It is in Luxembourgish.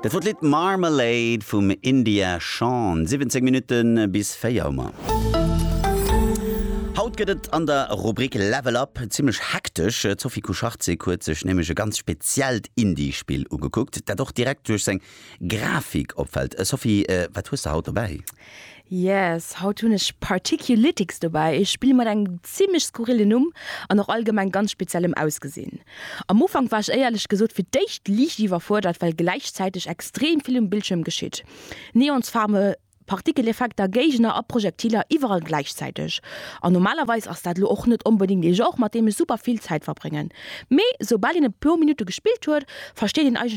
Dat wor d'Lidd Marmalade vum India Shawn. 17 Minutte bis 4 hu mer. Haut gëtt et an der Rubrik Level Up zimmlech hektesch. D'Sophie Kucharczyk huet sech nämlech e ganz speziellt Indie-Spill ugekuckt, dat och direkt duerch seng Grafik opfält. Sophie, wat hues de haut dobäi? Yes, haut hunn ech Particulytics dobäi, e Spill mat engem zimmlech skurrillen Numm an och allgemeng ganz speziellem Ausgesinn. Am Ufank war ech éierlech gesot fir d'éischt liicht iwwerfuerdert, well gläichzäiteg extrem vill um Bildschierm geschitt. Neonsfaarwe Partikeleffekter, Géigner a Projektiler iwwerall gläichzäiteg. An normalerweis ass dat elo och net onbedéngt ee Genre, mat deem ech super vill Zäit verbréngen. Mee soubal een e puer Minutte gespillt huet, versteet een eigentlech.